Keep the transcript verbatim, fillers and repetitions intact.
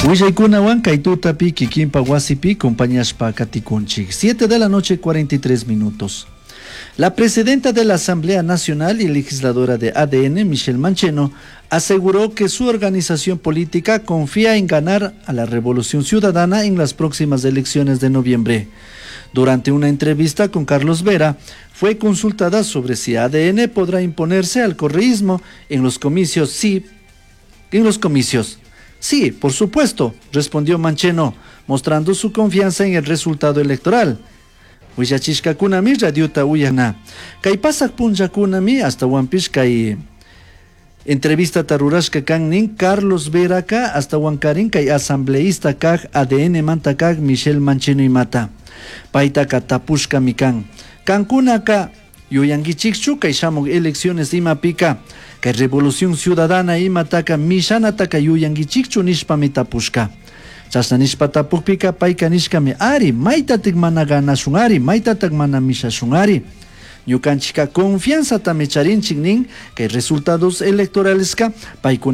Willaykunawan kay tutapi kikinpa wasipi compañashpa katikunchik. Siete de la noche cuarenta y tres minutos. La presidenta de la Asamblea Nacional y legisladora de A D N, Michelle Mancheno, aseguró que su organización política confía en ganar a la Revolución Ciudadana en las próximas elecciones de noviembre. Durante una entrevista con Carlos Vera, fue consultada sobre si A D N podrá imponerse al correísmo en los comicios. Sí, en los comicios. Sí, por supuesto, respondió Mancheno, mostrando su confianza en el resultado electoral. Willachishkakunami radiota uyana. Kay pasak punllakunami ashtahuanpish kay entrevista rurashka kan nin Carlos Veraka ashtahuankarin kay asambleísta kaj A D N manta kaj Michelle Mancheno imata. Paytaka tapushkami kan. Kankunaka yuyankichikchu kay shamuk elecciones imapika kay Revolución Ciudadana imataka mishanataka yuyankichikchu nishpami tapushka. Chashna nishpa tapukpika payka nishkami ari maytatik mana ganashun ari maytatak mana mishashun ari. Ñukanchika confianzatami charinchik nin kay resultados electoraleska paykuna